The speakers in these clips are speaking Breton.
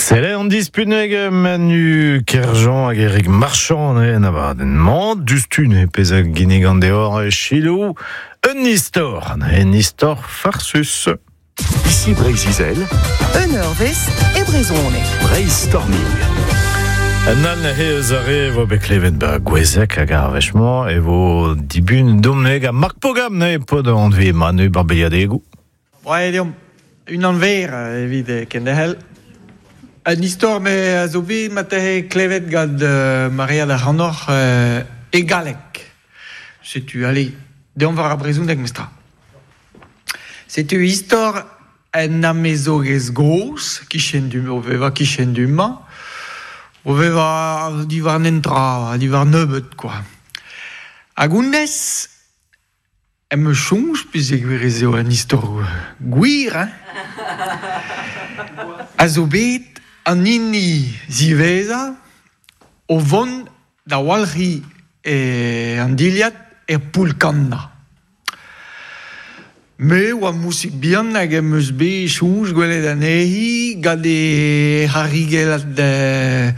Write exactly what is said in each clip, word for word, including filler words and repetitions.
Sele an dispuneg Manu Kerjean hag Eric Marchand en abadenn-mañ dustun e pezh a ginnig an deor Chilou un istor, un istor farsus. Ici Breizh-Izel, Un eurvezh e brezhoneg. Breizh-Storming. Un an he eus ar re vo bet klevet ba gwezek hag ar wech-mañ e vo dibun domneg ha Marc Pogam ne pod an anve Manu Barbeliadegou. Oa deomp un an ver evit kendehel. Un istor me a zo bet ma tehe klevet gant euh, Maria da Ranoc'h euh, e galek. Setu, allez, deomp war ar brezhoneg mestra. Setu istor en amezogez goz, kichen du, o veva kichen du ma, o veva diwar nentra, diwar nebeut, quoi. Hag honnezh, em eus soñj, pezh e gwir ez eo un istor gwir, hein? A zo bet an hini ziwezhañ o vont da walc'hiñ e an dilhad er poull-kannañ. Me oa mousig bihan hag em eus bet soñj gwelet anezhi gant e c'harrigellad euh,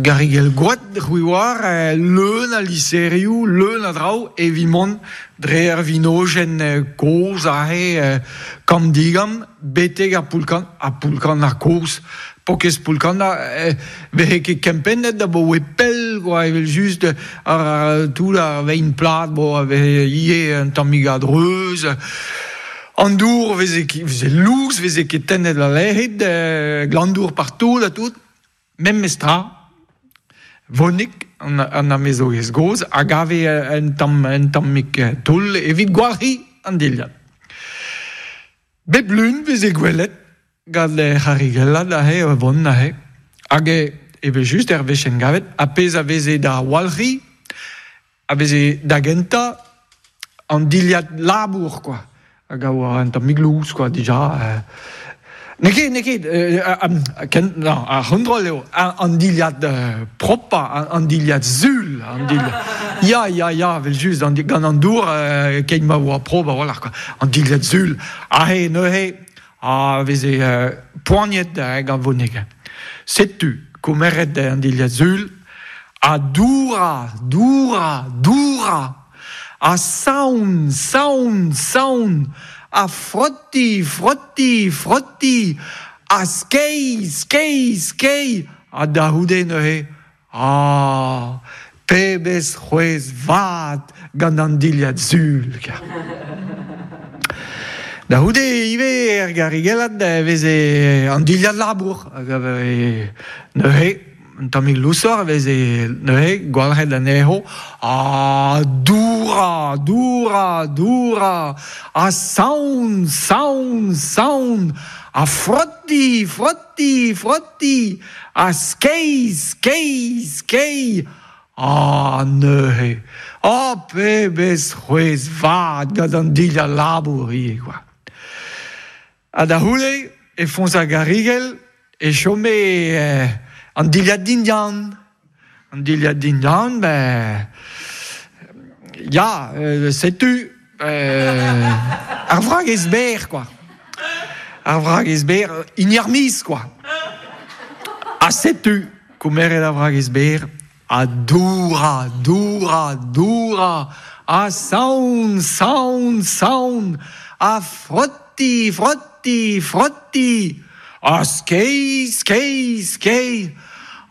garrigell gwad c'hwi oar leun a liserioù, leun a draoù evit mont dre ar vinojenn kozh aze kamm-digamm betek ar poull-kannañ, ar poull-kannañ kozh. Pokez poull-kannañ vehe ket kempennet da bo pell quoi evel just ar tout ar vein plat bo vehe ivez un tammig a-dreuz. An dour veze veze louz veze ket tennet la lec'hid, glandour partout ha tout. Memestra, vonik an, an amezogez goz hag ave un tamm un tammig toull evit gwalc'hiñ an dilhad. Bep lun veze gwelet gant c'harrigellad aze vont aze. Hag evel just er wech en gavet, a pezh a veze da walc'hiñ, a veze da gentañ an dilhad labour, quoi. Hag a oa un tammig louz, quoi, dija. Euh. N'eo ket, n'eo ket, euh, euh, ken, non, ar c'hontrol eo, an dilhad euh, propa, an, an dilhad sul, an dilhad... Ya, ya, ya, vel just, an, gant an dour, euh, keit ma oa prop a-walc'h, quoi. An dilhad sul, aze neuze, a veze euh, poaniet euh, gant vonek. Setu, komeret an dilhad sul, a doura, doura, doura, a saon, saon, saon, a frotti, frotti, frotti, a skei, skei, skei, a da c'houde neuze, ah, pebezh c'hwezh vat gant an dilhad sul. Da c'houde ivez er garrigellad veze an dilhad labour, hag a veze neuze, un tammig lousoc'h a veze neuze gwalc'het anezho, ah, doura, doura, doura, a saon, saon, saon, a frotti, frotti, frotti, a skei, skei, skei, ah, neuze, ah, pebezh c'hwezh vat gant an dilhad labour ivez, quoi. Ha da c'houde, e foñs ar garrigell, e chome euh, an dilhad dindan. An dilhad dindan, ben... Ya, euh, setu, euh, ar vragez berr, quoi. Ar vragez berr, hini ar miz, quoi. Ha setu, komeret ar vragez berr, a doura, doura, doura, a saon, saon, saon, a frotti, frotti, frotti, a skei, skei, skei,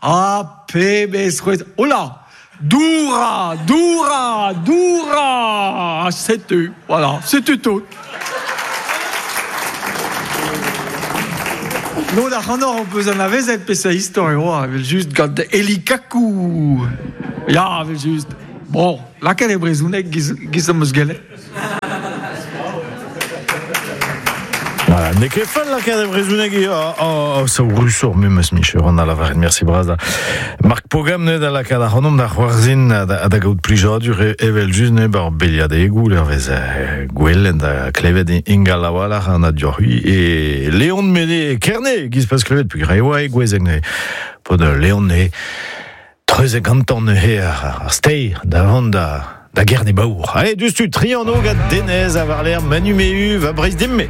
a pebezh c'hwezh, hola, doura, doura, doura, setu, voilà, setu tout. Lod ac'hanoc'h ho peus anavezet peseurt istor eo, evel just gant Eli Kakou. Ya, evel just. Bon, lakaet e brezhoneg giz, giz am eus gellet. Voilà, n'eo ket fall lakaat e brezhoneg eo, oh, oh, sao rusoc'h memes micher an a lavaret, merci bras da. Marc Pogam ne da lakaat ar c'hanomp da c'hoarzhin da, da gaout plijadur evel just ne bar beliadegoù l'ervez gwellen da klevet ingal a-walc'h an adioc'h-hui e Léon Mene Kerne giz pas klevet pegwir e oa e gwezeg ne pod Léon ne treuzet gantañ neuze ar, ar steir da vont da da Gerne Baour. Allez, dustu, trianno gant Denez a varler Manu Mehu va Breizh Dimme.